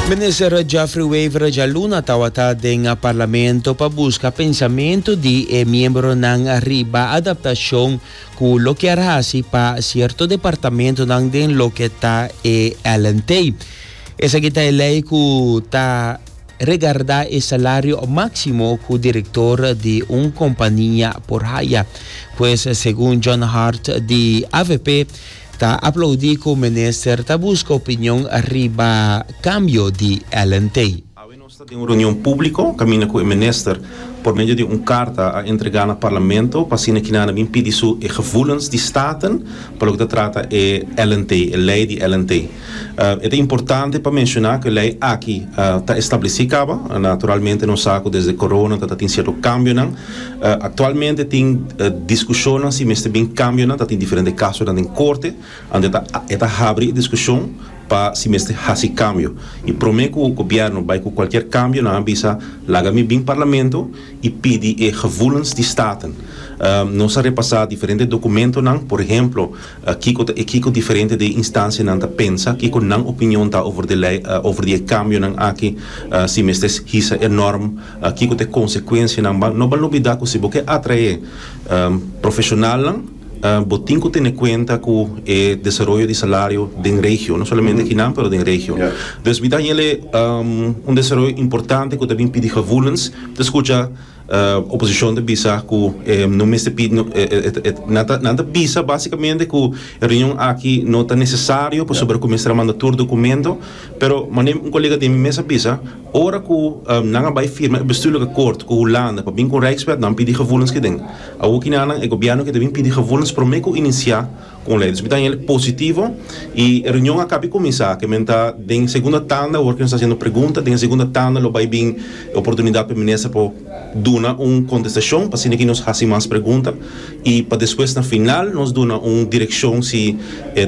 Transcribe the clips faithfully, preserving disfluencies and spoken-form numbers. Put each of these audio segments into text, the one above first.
Minister Geoffrey Wever djaluna tawata den parlamento pa buska pensamentu di e miembronan riba adaptashon ku lo kier hasi pa sierto departamentonan den loke ta e L N T. Esaki ta e lei ku ta regarda e salario máksimo ku direktor di un kompania por haya. Pues segun John Hart di A V P ta aplaudí ku minister ta buska opinion riba kambio di L N T. Nos tin un reunion públiko, kaminda ku e minister por medio di un karta a entregá na parlamento, pa asina ku nan bin pidi su e gevoelens di Staten, pa loke ta trata e L N T, e lei di L N T. Uh, ta importante pa menshoná ku e lei aki ta uh, establesí kaba, naturalmente nos sa ku desde corona ta tin sierto kambionan. Uh, aktualmente tin uh, diskushon si mester bin kambionan, tin diferente kaso den korte, unda ta ta habri diskushon pa si mester hasi kambio. I promé ku gobièrnu bai ku kualke kambio, nan a bisa laga mi bin parlamento i pidi e gevoelens di Staten. Um, nos a repasá diferente dokumentonan, por ehèmpel, uh, kiko kiko diferente di instansianan ta pensa, kiko nan opinion ta over di lei, uh, over di kambionan aki, uh, si mester hisa e norm, uh, kiko ta konsekuensianan, no ban lubidá ku si bo ke atraé um, profeshonalnan, Uh, bo tin ku tene kuenta ku e desaroyo di salario den region, no solamente aki nan, pero den region. Yeah. Dus mi ta um, un desaroyo importante ku tambe pidi gevoelens, te skucha uh, oposishon ta bisa ku eh, no mester pidi no, eh, eh, nada nada bisa básikamente ku e reunion aki no ta nesesario pasobra yeah. kuminsá manda tur dokumento, pero manera un kolega di mi mes a bisa, ora ku um, nan a bai firma bestuurlijk akkoord ku Hulanda pa bin ku Rijkswet, nan pidi gevoelens keden. Awor ku nan e gobièrnu ke bin pidi gevoelens promé ku inisiá ku lei. Dus mi ta positivo i e reunion a kaba di kuminsá, ke men ta den segundo tanda, ora ku nos ta hasiendo pregunta, den segundo tanda lo bai bin oportunidat pa minister pa duna un kontestashon, pa asina ku nos hasi mas pregunta i pa despues na final nos duna un direkshon si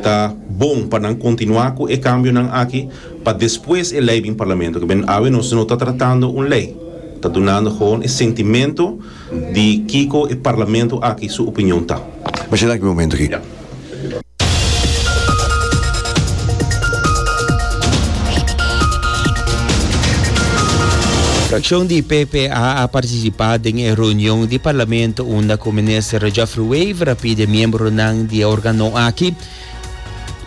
ta bon pa nan kontinuá ku e kambionan aki, pa despues e lei bin parlamento, ke men awe nos no ta tratando un lei, ta dunando gewoon e sentimentu di kiko e parlamento aki su opinion ta. Maar zit een momento hier. Ja. Frakshon di P P A a partisipá den e reunion di parlamento unda ku minister Geoffrey Wever a pidi miembronan di e órgano aki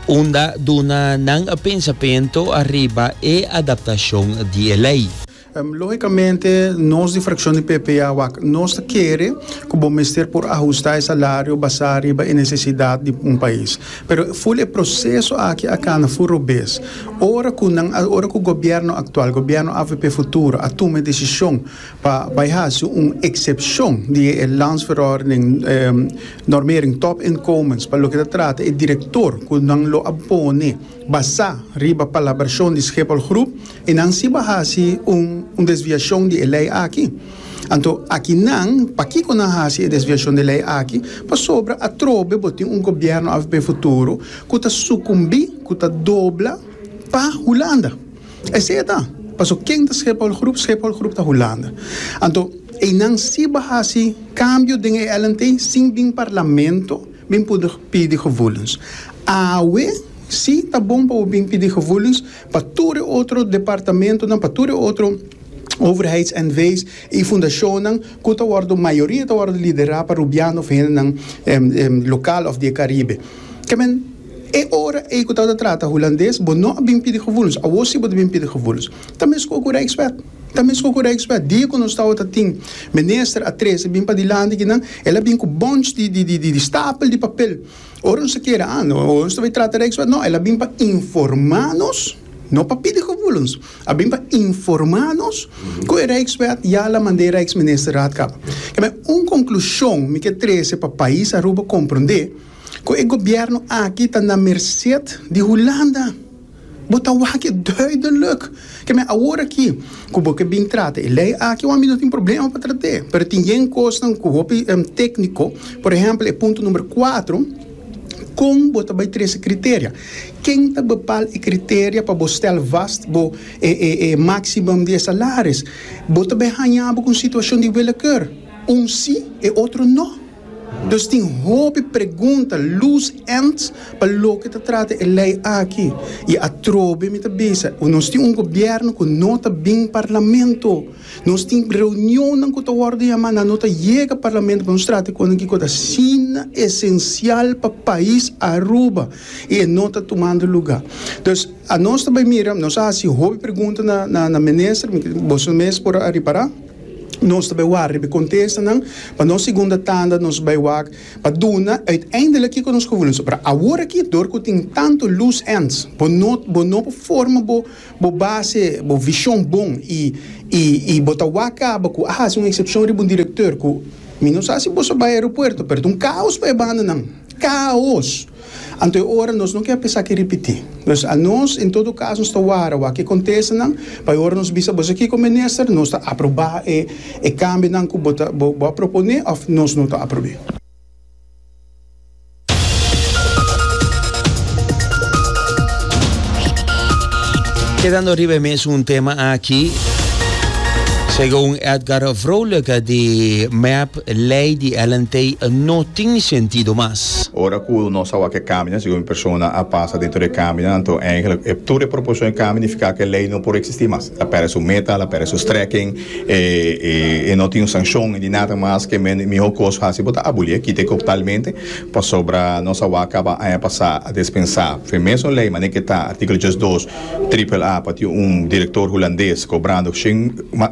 unda duna nan pensamentu riba e adaptashon di lei. Um, lógikamente, nos di frakshon di P P A, wak, nos ke ku bo mester por ahustá e salario basá riba e nesesidat di un pais. Pero full e proseso aki a kana full robes. Ora ku nan, ora ku gobièrnu aktual, gobièrnu A V P Futuro, a tuma desishon pa bai hasi un eksepshon di e landsverordening um, normering topinkomens pa loke ta trata e direktor ku nan lo a pone basá riba palabrashon di Schiphol Groep i nan si a hasi un, un desviashon di lei aki. Anto, aki nan, pakiko nan hasi e desviashon di lei aki, pasobra atrobe bo tin un gobièrnu A V P Futuro ku ta sukumbí, ku ta dobla pa Hulanda. Esei ta. Paso ken ta Schiphol Groep? Schiphol Groep ta Hulanda. Anto, i nan si a hasi kambio den L N T sin bin parlamento, bin por pidi gevoelens. Awe, si ta bon pa bin pidi gevoelens pa tur otro departamentonan, pa tur otro overheids-N V's i fundashonnan ku ta wordu mayoria ta wordu liderá pa rubiano òf hendenan um, um, lokal òf di Karibe. Ke men e ora e ku ta trata hulandes, bo no bin pidi gevoelens. Awor si bo bin pidi gevoelens. Tambe ku Rijkswet. Tambe ku Rijkswet. Dia ku nos tabata tin minister a trese bin pa dilanti ku nan, el a bin ku bunch di di di di, di stapel di papel. Ora nos kere, ah, no, ora nos bai trata Rijkswet, no, el a bin pa informá nos, no pa pidi gevoelens. A bin pa informá nos ku e Rijkswet ya el a mand'é Rijksministerraad kaba. Ke men un konklushon mi ke trese pa pais Aruba komprondé ku e gobièrnu aki ta na merset di Hulanda. Bo ta wak duidelijk. Ke men awor aki, ku bo ke bin trata e lei aki, ami no tin problema pa trata. Pero tin yen kosnan ku hopi um, tékniko, por ehèmpel, e punto number kuater, kon bo ta bai trese kriterio. Ken ta bepaal e kriterio pa bo stel vast bo e, e, e maximum di salaris? Bo ta bai haña bo ku situashon di willekeur. Un si e otro no. Dus tin hopi pregunta, loose ends, pa loke ta trata e ley aki. Y atrobe mi ta bisa, nos tin un gobierno cu no ta bin parlamento. Nos tin reunion cu ta wordo yama, no ta yega parlamento pa nos trata cu cu ta asina esencial pa pais Aruba. Y no ta tumando luga. Dus, anos tambe mira, nos a haci hopi pregunta na na na minister, bo mes por a ripara. Nos tambe warda riba contestanan, pa nos segundo tanda nos bay wak pa duna uiteindelijk kico nos gevoelens. Maar awor aki door cu tin tanto loose ends, bo no bo no forma bo bo base, bo vision bon y y y bo ta wak caba cu ah, un excepcion riba un director cu mi no sa si bo a bay aeropuerto, pero un caos pa banda nan. Caos. Anto, ora nos no kier pensa cu ripiti. Dus anos, en todo caso, nos ta warda wak e contestanan, pa ora nos bisa bo aki como minister, nos ta aproba e e cambionan cu bo bo propone of nos no ta aproba. Kedando riba mes un tema aki, segun Edgar Vrolijk di M E P, ley di L N T no tin sentido mas. Ora cu nos a wak e cambio, segun persona a pasa den e cambio, anto eigenlijk e tur e proposicion cambio significa cu e ley no por existi mas. El a perde su meta, el a perde su strekking, e, e, e no tin sancion di nada mas cu miho cos haci bo ta aboli, kita totalmente, pasobra nos a wak caba aña pasa a dispensa. Fe mesun ley, manera cu ta articulo dos, triple A, pa un director hulandes cobrando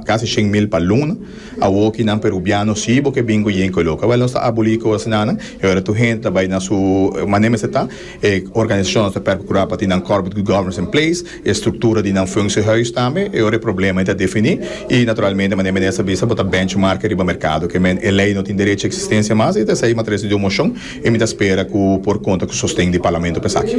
casi shen mil pa luna, awo nan peruviano si bo ke bingo yen coloca. Wel, nos ta aboli cos nan, y ora tur hende bay na su manera ta, e organisacion ta percura pa tin nan corporate good governance in place, e structura di nan functiehuis tambe, y ora e problema ta defini y naturalmente manera minister a bisa bo ta benchmark riba mercado, kiermen e ley no tin derecho di existencia mas y esey mi a trece den mocion y mi ta spera cu por conta cu sosten di parlamento pa esaki.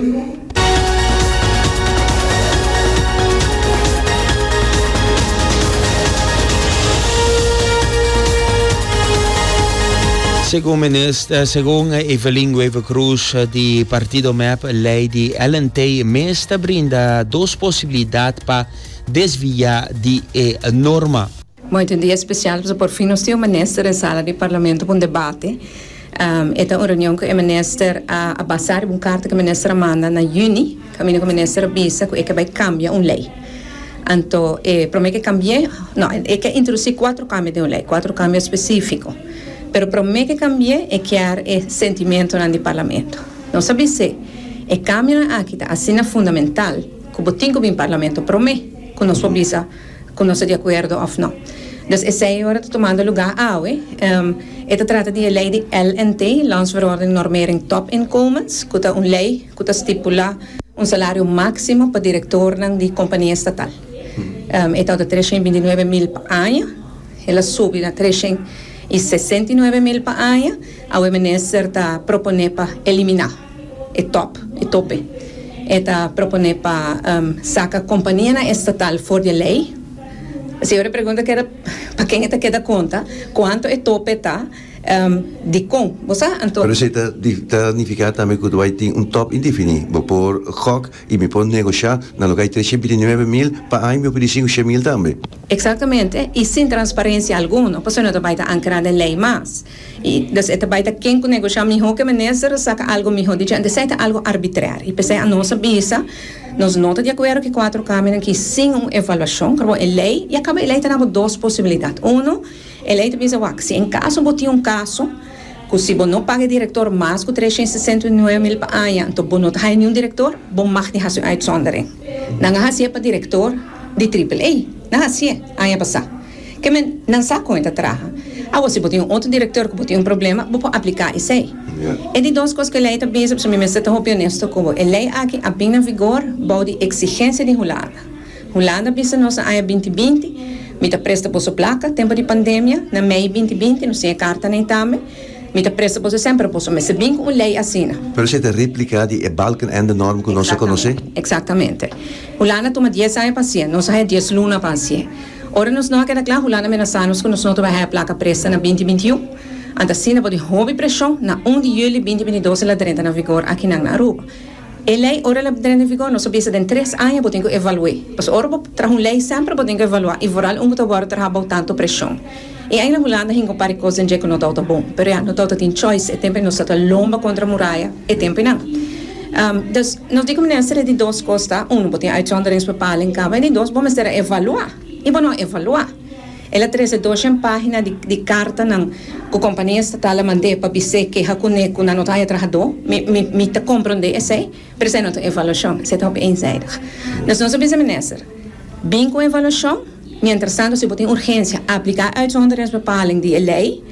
Segun minister, segun Evelyn Wever-Croes di Partido M E P, ley di L N T mes ta brinda dos posibilidad pa desvia di e norma. Mooi, un dia special, pasobra por fin nos tin un minister den sala di parlamento pa un debate. Um, e ta un reunion cu e minister a, a basa un carta cu e minister a manda na juni, caminda cu e minister a bisa cu e ta bay cambia un ley. Anto, eh, prome cu cambia, no, e kier introduci cuater cambio den un ley, cuater cambio specifico. Pero prome cu cambia e kier e sentimento di parlamento. Nos sa si e cambio aki ta asina fundamental, cu bo tin cu bin parlamento prome, cu nos bisa cu nos ta di acuerdo of no. Dus esey awor ta tumando luga awe. Um, e ta trata di ley di L N T, Landsverordening Normering Topinkomens, cu ta un ley cu ta stipula un salario maximo pa director di compania estatal. Um, e ta di trescientos bintinuebe mil pa aña, el a subi na trescientos sesenta y nuebe mil pa aña, e minister ta propone pa elimina e top, e tope. E ta propone pa um, saca compania estatal for di ley. Si e pregunta cu ta pa ken ta keda conta, cuanto e tope ta, um, di con, bo sa? Anto, Pero esey ta, ta significa tambe cu bay tin un top indefini. Bo por gok y mi por negocia na lugar di trescientos bintinuebe mil pa aña mi por sinku mil tambe. Exactamente, y sin transparencia alguno, pasobra no bay ta ancra den ley mas. Y dus e bay ta ken cu negocia miho cu e minister saca algo miho, di esey ta algo arbitrario. Y p'esey nos a bisa, nos no ta di acuerdo cu cuater cambio aki sin un evaluacion, como e ley, y caba e ley tin dos posibilidad. Uno, e ley ta bisa wak, si en caso bo tin un caso cu si bo no paga director mas cu trescientos sesenta y nuebe mil pa aña, anto bo no ta ningun director, bo mag niet haci uitzondering. Nan a haci pa director di Triple A. Nan a haci aña pasa. Kiermen nan sa con ta traha. Awor si bo tin un otro director cu tin un problema, bo por aplica esey. Yeah. E di dos cos cu e ley ta bisa, mi mester ta honesto cu e ley aki a bin na vigor bou di exigencia di Hulanda. Hulanda a bisa nos aña binti binti, mi ta presta boso placa, tempo di pandemia, na mei binti binti, nos tin e carta ey tambe. Mi ta presta boso semper boso, mas bin cu un ley asina. Pero esey ta replica di e Balkenende norm cu nos conoce? Exactamente. Hulanda a tuma dies aña pa haci, nos a dies luna pa haci. Ora nos no keda cla, Hulanda a menasa nos cu nos no ta bay placa presta na binti binti un. Anto asina, bou di hopi presion, na un di juli binti bintidos el a drenta na vigor aki na Aruba. E ley, ora el a drenta na vigor, nos bisa den tres aña bo tin cu evalua. Mas ora bo traha un ley semper bo tin cu evalua. Y vooral un cu ta traha tanto presion. I eigenlijk Hulanda hinka un par di kos den dje ku no tabata bon. Pero ja, no tabata tin choice. E tempu nos tabata lomba kontra muraya, e tempu nan. Um, dus nos di ku minister, e di dos kos ta, uno, bo tin uitzonderingsbepaling kaba, e di dos, bo mester evaluá. I bo no a evaluá. El a trese doshen página di, di kartanan ku kompania estatal a mand'é pa bis'é keha kuné ku nan no ta haña trahadó. Mi, mi, mi ta komprondé esei, pero esei no ta evaluashon, esei ta hopi eenzijdig. Dus nos a bisa minister, bin ku evaluashon, mientras tanto si bo tin urgensia, apliká uitzonderingsbepaling di e lei,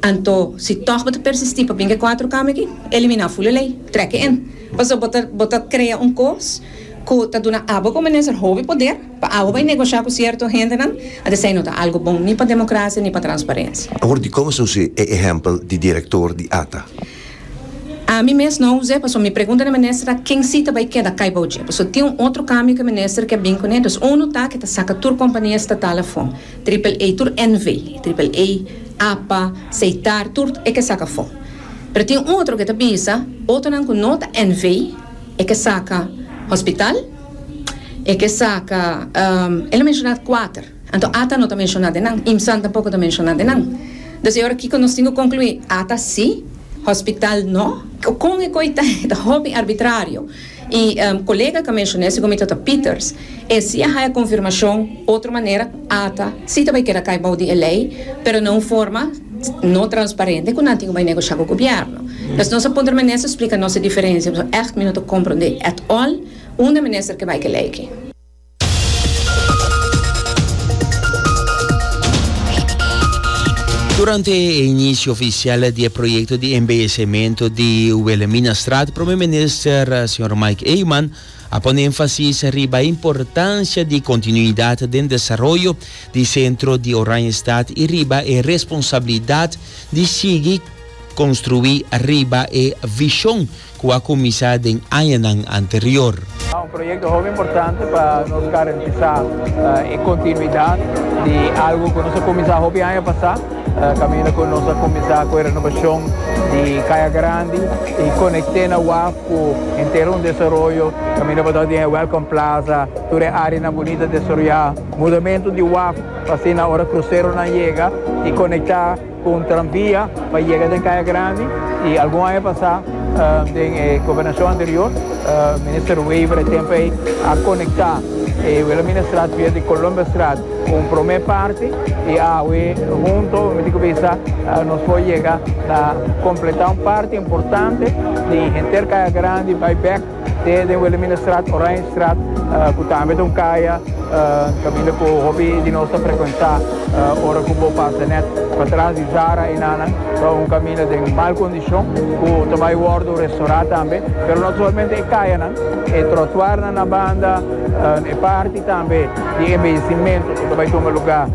anto si tòg bo ta persistí pa bin ku e kuater kambio aki, eliminá ful e lei, trek e in. Pasobra bo ta, bo ta krea un kos ku ta duna abo komo minister hopi poder pa abo bai negoshá ku sierto hendenan, anto esei no ta algu bon ni pa demokrasia ni pa transparensia. Awor dikon a usa e ehèmpel di direktor di ATA? Ami mes no a us'é, pasobra mi pregunta na minister ta ken si ta bai keda kai bou dje. Pasobra tin un otro kambio ku e minister ke bin kuné, dus unu ta ku ta saka tur kompania estatal afó, Triple A, tur N V, Triple A, APA, Setar, tur e ke saka afó. Pero tin un otro ku ta bisa, otronan ku no ta N V, e ke saka hospital, e ke saka, el a menshoná kuater, anto ATA no ta menshoná den nan, IMSAN tampoko ta menshoná den nan. Dus e ora kiko nos tin ku konkluí? ATA sí, hospital no? Kon e koi ta, ta hopi arbitrario. I kolega ku a menshoná segun mi ta Peters, e si a haña konfirmashon otro manera, ATA sí ta bai keda kai bou di e lei, pero na un forma no transparente ku nan tin ku bai negoshá ku gobièrnu. Dus nos a puntra minister splika nos e diferensia, pasobra ègt mi no ta komprondé at all unda minister ke bai ku e lei aki. Durante e inicio oficial di e proyecto di embeyecimento di Wilhelminastraat, Prome Minister señor Mike Eman a pone enfasis riba e importancia di continuidad den desaroyo di centro di Oranjestad y riba e responsabilidad di sigui construi riba e vision cu a cuminsa den añanan anterior. Un proyecto hopi importante pa nos garantisa e continuidad di algo cu nos a cuminsa hopi aña pasa, caminda cu nos a cuminsa cu e renovacion di Caya Grandi y conecta na waf cu henter un desaroyo, caminda pa tin Welcome Plaza, tur e area bunita desaroya, mudamento di waf pa asina ora cruceronan yega y conecta cu un tranvia pa yega na Caya Grandi. Y algun aña pasa, den gobernacion anterior, Minister Wever tempo ey a conecta Wilhelminastraat via di Columbusstraat cu prome parti y awe hunto, mi ta pensa, nos por yega na completa un parti importante di henter Caya Grandi bay back te Wilhelminastraat, Oranjestraat, cu tambe ta un caya caminda cu hopi di nos ta frecuenta ora cu bo pasa net patras di Zara y nana, ta un caminda den mal condicion, cu tambe a wordo restaura tambe, pero no solamente e cayanan, e trottoir na banda, e parti tambe di embeyecimento cu tambe ta tuma luga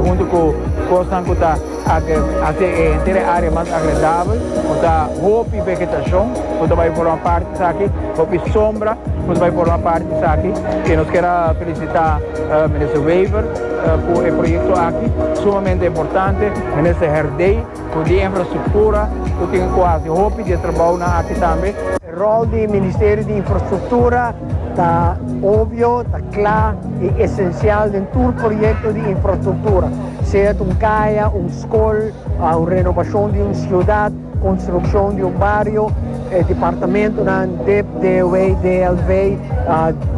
hunto cu cosnan cu ta haci henter area mas agradabel, cu ta hopi vegetacion, cu tambe forma parti aki, hopi sombra, cu tambe forma parti aki, y nos kier felicita Minister Wever cu e proyecto aki, sumamente importante, Minister Herdé, cu e infrastructura, cu tin casi hopi di trabou aki tambe. E rol di Ministerio di Infrastructura ta obvio, ta cla y esencial den tur proyecto di infrastructura, sea un caya, un scol, un renovacion di un ciudad, construccion di un bario, eh, departamentonan D I P, D O W, D L V,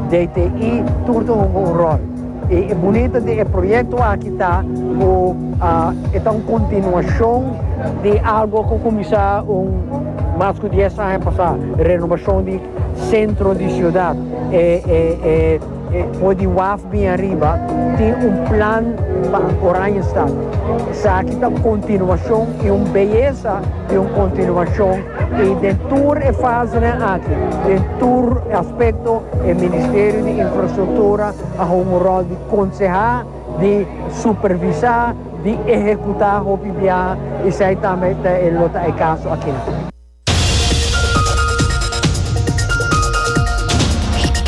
D T I, tur tin un rol. Y e bunita di e proyecto aki ta cu uh, ta un continuacion di algo cu a cuminsa un mas cu dies aña pasa, renovacion di centro di ciudad. E, e, e, e, di waf bin ariba, tin un plan pa Oranjestad. Esaki ta continuacion y un beyesa di un continuacion y di tur e fase aki, di tur aspecto, e Ministerio di Infrastructura a un rol di conseha, di supervisa, di ehecuta hopi bia, y esey tambe ta e caso aki.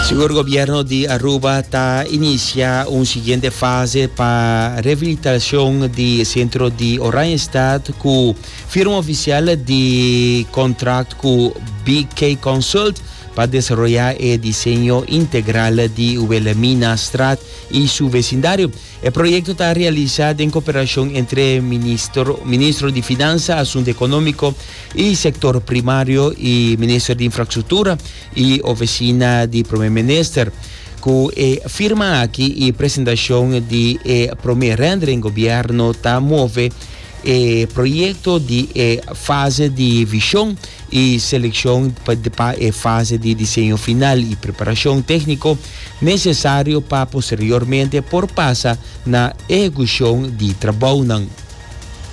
Sigur gobierno di Aruba ta inicia un siguiente fase pa rehabilitacion di centro di Oranjestad cu firma oficial di contract cu B K Consult. Pa desaroya e diseño integral di Wilhelminastraat y su vecindario. E proyecto ta realisa den cooperacion entre Ministro, Ministro di Finansa, Asunto Economico y Sector Primario y Ministro di Infrastructura y Oficina di Prome Minister. Cu e firma aki y presentacion di e prome rendering, gobierno ta move e proyecto di e fase di vision y seleccion pa e fase di diseño final y preparacion tecnico necesario pa posteriormente por pasa na ehecucion di trabounan.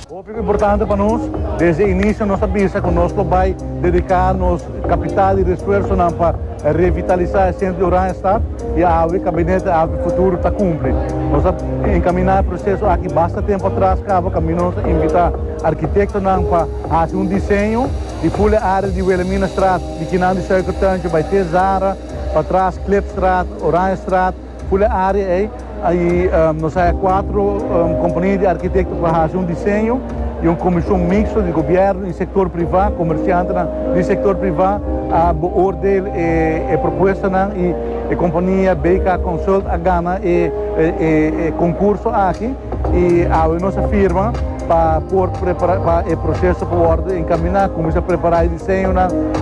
Hopi importante pa nos, desde inicio nos a bisa cu nos ta bay dedica nos capital y esfuerso pa revitalisa e centro di Oranjestad y e gabinete A V Futuro ta cumpli. Nos a encamina e proceso aki basta tempo atras, caba caminda nos a invita arkitecto pa haci un diseño di full area di Wilhelminastraat, di akinan di Suikertuintje, bay te Zara, patras Klipstraat, Oranjestraat, full area ey. Ey um, nos tin cuater um, compania di arkitecto pa haci un diseño y un comision mixto di gobierno y sector priva, comerciante di sector priva, a beoordeel e, e propuesta y e compania B K Consult a gana e, e, e concurso aki y a nos a firma pa por prepara pa e proceso pa encamina, cuminsa prepara e diseño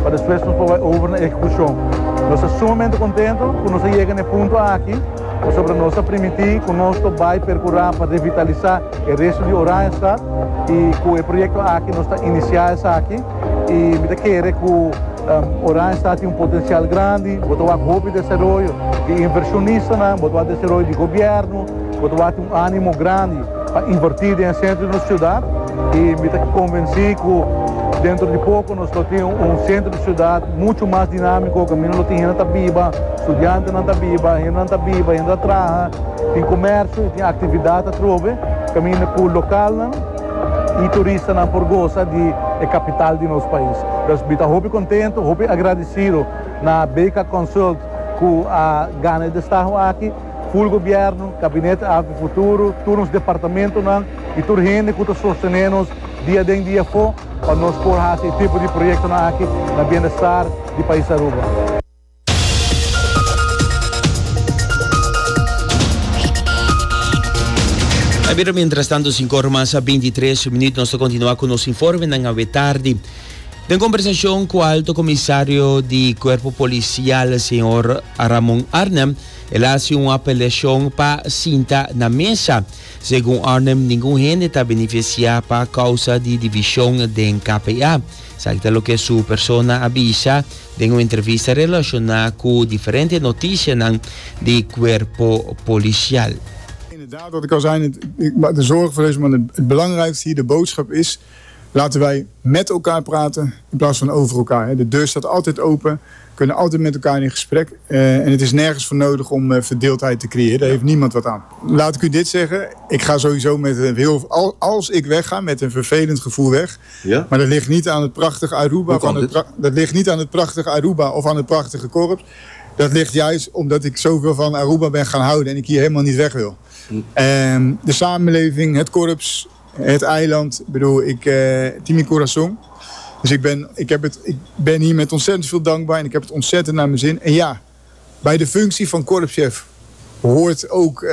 pa despues nos por over na ehecucion. Nos ta sumamente contento cu nos a yega na e punto aki, sobre nos a permiti cu nos bay percura pa revitalisa e resto di Oranjestad y cu e proyecto aki nos ta inicia esaki y mi ta kere cu um, Oranjestad tin un potencial grandi, bo ta hopi desaroyo di inversionista, bo ta desaroyo di gobierno, bo ta un animo grandi pa inverti den centro di nos ciudad y mi ta convenci cu dentro di poco nos tin un centro di ciudad mucho mas dinamico, caminda lo tin hende ta biba, studiantenan ta biba, hende ta biba, hende ta traha, tin comercio, tin actividad atrobe, caminda cu local y turistanan por gosa di e capital di nos pais. Anto, mi ta hopi contento, hopi agradecido na B K Consult cu a gana e destaho aki, full gobierno, gabinete A V Futuro, tur e departamentonan y tur hende cu ta sosteniendo dia aden dia afo pa nos por e tipo di proyecto aki na bienestar di pais Aruba. Pero mientras tanto, cinco or mas bintitres minuut, nos ta continua cu nos informe na tardi. Den conversacion cu alto comisario di Cuerpo Policial, señor Ramon Arnhem, el a haci un apelacion pa sinta na mesa. Segun Arnhem, ningun hende ta beneficia pa causa di division den K P A. Esaki ta loke su persona a bisa den un entrevista relaciona cu diferente noticia di Cuerpo Policial. Inderdaad, wat ik al zei, het, de zorg voor deze man, het, het belangrijkste hier, de boodschap is: laten wij met elkaar praten in plaats van over elkaar. De deur staat altijd open, we kunnen altijd met elkaar in gesprek. Uh, en het is nergens voor nodig om uh, verdeeldheid te creëren. Daar heeft niemand wat aan. Laat ik u dit zeggen, ik ga sowieso met een heel, als ik wegga, met een vervelend gevoel weg. Ja? Maar dat ligt niet aan het prachtige Aruba, of aan het, dat ligt niet aan het prachtige Aruba of aan het prachtige korps. Dat ligt juist omdat ik zoveel van Aruba ben gaan houden en ik hier helemaal niet weg wil. Hm. Um, de samenleving, het korps, het eiland. Ik bedoel, ik, uh, tin mi corazon. Dus ik ben, ik, heb het, ik ben hier met ontzettend veel dankbaar en ik heb het ontzettend naar mijn zin. En ja, bij de functie van korpschef hoort ook uh,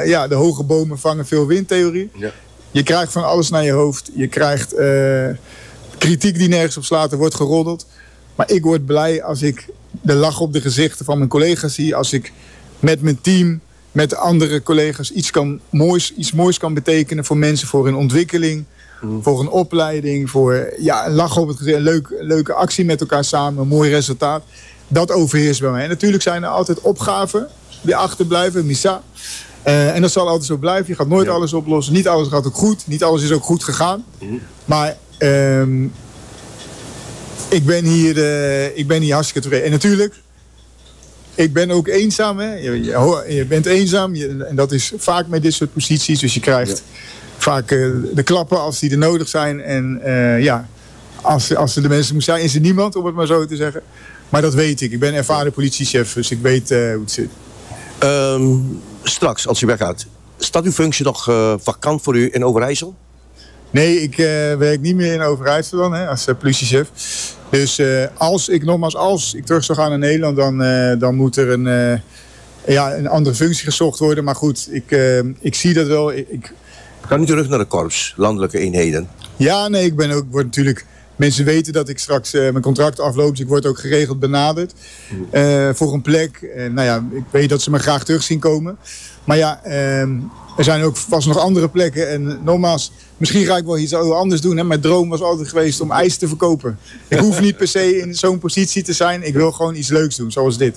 ja, de hoge bomen vangen veel windtheorie. Ja. Je krijgt van alles naar je hoofd. Je krijgt uh, kritiek die nergens op slaat, er wordt geroddeld. Maar ik word blij als ik de lach op de gezichten van mijn collega's zie. Als ik met mijn team, met andere collega's iets, kan moois, iets moois kan betekenen voor mensen, voor hun ontwikkeling, mm. voor een opleiding, voor ja, een lach op het gezicht, een leuk, leuke actie met elkaar samen, een mooi resultaat. Dat overheerst bij mij. En natuurlijk zijn er altijd opgaven die achterblijven, mi sa. Uh, en dat zal altijd zo blijven. Je gaat nooit ja. alles oplossen. Niet alles gaat ook goed. Niet alles is ook goed gegaan. Mm. Maar um, ik, ben hier, uh, ik ben hier hartstikke tevreden. En natuurlijk, ik ben ook eenzaam. Hè? Je, je, je bent eenzaam. Je, en dat is vaak met dit soort posities. Dus je krijgt ja. vaak uh, de klappen als die er nodig zijn. En uh, ja, als, als er de mensen moeten zijn, is er niemand, om het maar zo te zeggen. Maar dat weet ik. Ik ben ervaren politiechef, dus ik weet uh, hoe het zit. Um, straks, als u weggaat, staat uw functie nog uh, vakant voor u in Overijssel? Nee, ik uh, werk niet meer in Overijssel dan, hè, als uh, politiechef. Dus uh, als ik, nogmaals, als ik terug zou gaan naar Nederland, dan, uh, dan moet er een, uh, ja, een andere functie gezocht worden. Maar goed, ik, uh, ik zie dat wel. Ik, ik... Kan u terug naar de korps, landelijke eenheden? Ja, nee, ik ben ook, word natuurlijk... Mensen weten dat ik straks uh, mijn contract afloop, dus ik word ook geregeld benaderd uh, voor een plek. Uh, nou ja, ik weet dat ze me graag terug zien komen. Maar ja, uh, er zijn ook vast nog andere plekken. En nogmaals, misschien ga ik wel iets anders doen. Hè? Mijn droom was altijd geweest om ijs te verkopen. Ik hoef niet per se in zo'n positie te zijn. Ik wil gewoon iets leuks doen, zoals dit.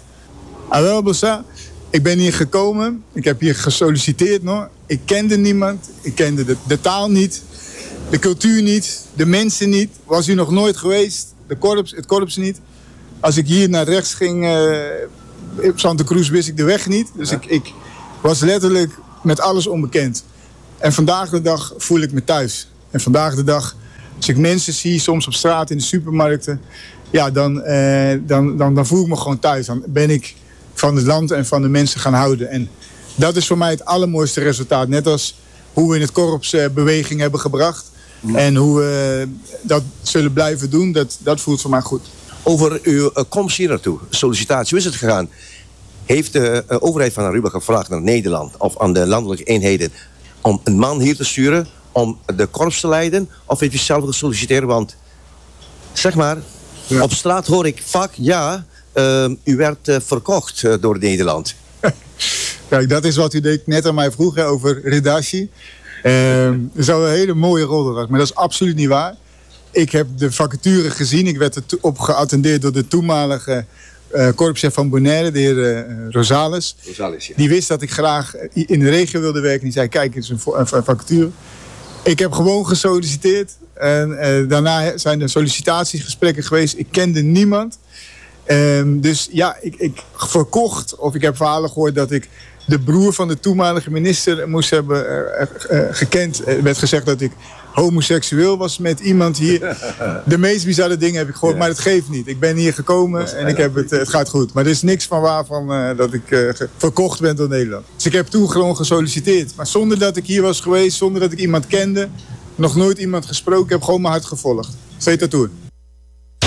Awel, Bossa, ik ben hier gekomen. Ik heb hier gesolliciteerd nog. Ik kende niemand. Ik kende de, de taal niet. De cultuur niet, de mensen niet. Was hier nog nooit geweest. De korps, het korps niet. Als ik hier naar rechts ging, uh, op Santa Cruz, wist ik de weg niet. Dus ja. ik, ik was letterlijk met alles onbekend. En vandaag de dag voel ik me thuis. En vandaag de dag, als ik mensen zie, soms op straat in de supermarkten, ja, dan, eh, dan, dan, dan voel ik me gewoon thuis. Dan ben ik van het land en van de mensen gaan houden. En dat is voor mij het allermooiste resultaat. Net als hoe we in het korps eh, beweging hebben gebracht. Mm. En hoe we dat zullen blijven doen, dat, dat voelt voor mij goed. Over uw komst hier naartoe, sollicitatie, hoe is het gegaan? Heeft de overheid van Aruba gevraagd naar Nederland of aan de landelijke eenheden om een man hier te sturen om de korps te leiden? Of heeft u zelf gesolliciteerd? Want, zeg maar, ja. Op straat hoor ik vaak, ja, uh, u werd uh, verkocht uh, door Nederland. Kijk, dat is wat u net aan mij vroeg, hè, over Redashi. Uh, dat zou een hele mooie rol zijn, maar dat is absoluut niet waar. Ik heb de vacature gezien. Ik werd erop geattendeerd door de toenmalige uh, korpschef van Bonaire, de heer uh, Rosales. Rosales ja. Die wist dat ik graag in de regio wilde werken. Die zei, kijk, het is een, een vacature. Ik heb gewoon gesolliciteerd. En uh, daarna zijn er sollicitatiegesprekken geweest. Ik kende niemand. Um, dus ja, ik, ik verkocht, of ik heb verhalen gehoord dat ik de broer van de toenmalige minister moest hebben uh, uh, gekend. Er werd gezegd dat ik homoseksueel was met iemand hier. De meest bizarre dingen heb ik gehoord, ja. Maar het geeft niet. Ik ben hier gekomen en ik heb het, het gaat goed. Maar er is niks van waarvan uh, dat ik uh, verkocht ben door Nederland. Dus ik heb toen gewoon gesolliciteerd. Maar zonder dat ik hier was geweest, zonder dat ik iemand kende, nog nooit iemand gesproken, ik heb gewoon mijn hart gevolgd. Zeta Tour.